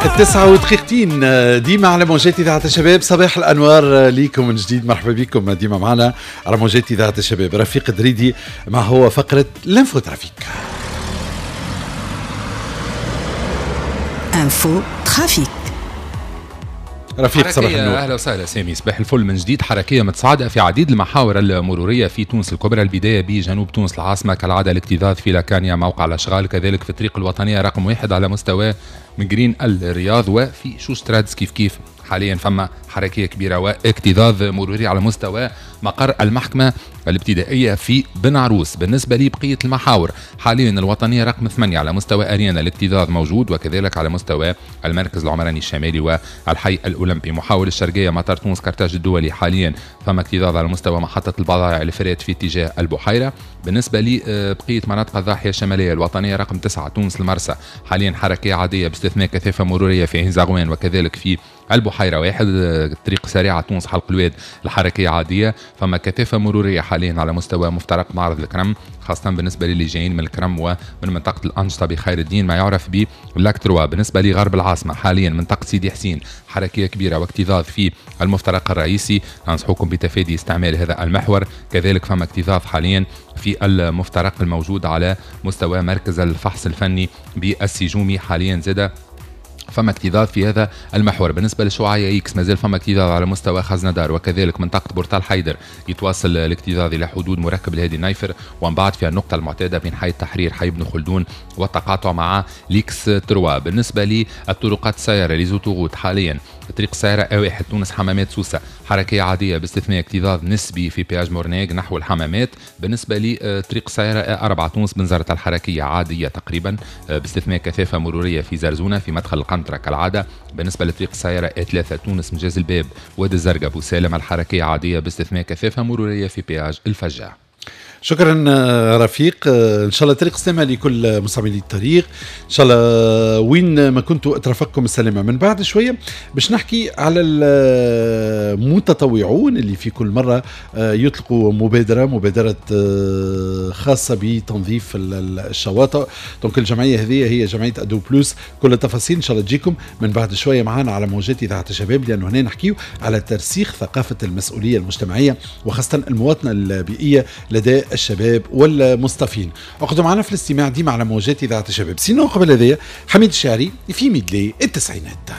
9:02 ديما على موجات إذاعة الشباب. صباح الأنوار ليكم من جديد، مرحبا بكم ديما معنا على موجات إذاعة الشباب. رفيق دريدي مع هو فقرة l'info trafic. info trafic. رفيق صباح النور. اهلا وسهلا سامي، صباح الفل من جديد. حركية متصاعده في عديد المحاور المرورية في تونس الكبرى، البداية بجنوب تونس العاصمة كالعادة الاكتظاظ في لاكانيا موقع الاشغال، كذلك في الطريق الوطنية رقم 1 على مستوى مقرين الرياض، وفي شوسترادز كيف كيف حاليا فما حركية كبيرة واكتظاظ مروري على مستوى مقر المحكمة الابتدائية في بن عروس. بالنسبة لبقية المحاور حاليا الوطنية رقم 8 على مستوى اريانا الاكتظاظ موجود، وكذلك على مستوى المركز العمراني الشمالي والحي الاولمبي. محاور الشرقية مطار تونس كرتاج الدولي حاليا فما اكتظاظ على مستوى محطة البضائع الفرات في اتجاه البحيرة. بالنسبة لبقية مناطق الضاحية الشمالية الوطنية رقم 9 تونس المرسى حاليا حركية عادية باستثناء كثافة مروريه في عين زغوان وكذلك في البحيرة 1. طريق سريعة تونس حلق الواد الحركية عادية، فما كثافة مروريه حاليا على مستوى مفترق معرض الكرم، خاصة بالنسبة للي جايين من الكرم ومن منطقة الانشطة بخير الدين ما يعرف ب Lac 3. بالنسبة لغرب العاصمة حاليا منطقة سيدي حسين حركية كبيرة واكتظاظ في المفترق الرئيسي، ننصحكم بتفادي استعمال هذا المحور. كذلك فما اكتظاظ حاليا في المفترق الموجود على مستوى مركز الفحص الفني بالسجومي حاليا زاد فما اكتظاظ في هذا المحور. بالنسبة للشعاعية X مازال فما اكتظاظ على مستوى خزندار، وكذلك منطقة بورتال حيدر يتواصل الاكتظاظ إلى حدود مركب الهادي النايفر، ومن بعد في النقطة المعتادة بين حي التحرير حي ابن خلدون والتقاطع مع l'axe 3. بالنسبة للطرقات السيارة les autoroutes حاليا طريق السيارة A1 تونس حمامات سوسة حركية عادية باستثناء اكتظاظ نسبي في péage مرناق نحو الحمامات. بالنسبة لطريق السيارة A4 تونس بنزرت الحركية عادية تقريبا باستثناء كثافة مرورية في زرزونة في مدخل القنطرة كالعادة. بالنسبة لطريق السيارة A3 تونس مجاز الباب وادي الزرقاء بوسالم الحركية عادية باستثناء كثافة مرورية في péage الفجاع. شكرا رفيق، ان شاء الله طريق سلامه لكل مستعملي الطريق، ان شاء الله وين ما كنتوا اترافقكم السلامة. من بعد شوية باش نحكي على المتطوعون اللي في كل مرة يطلقوا مبادرة خاصة بتنظيف الشواطئ. donc الجمعية هذه هي جمعية ادو بلوس. كل التفاصيل ان شاء الله تجيكم من بعد شوية معنا على موجات اذاعة الشباب، لانه هنا نحكيو على ترسيخ ثقافة المسؤولية المجتمعية وخاصة المواطنة البيئية لدى الشباب والمصطفين. اقعدوا معنا في الاستماع ديما على موجات اذاعة الشباب. sinon قبل هذايا حميد الشاعري في medley التسعينات.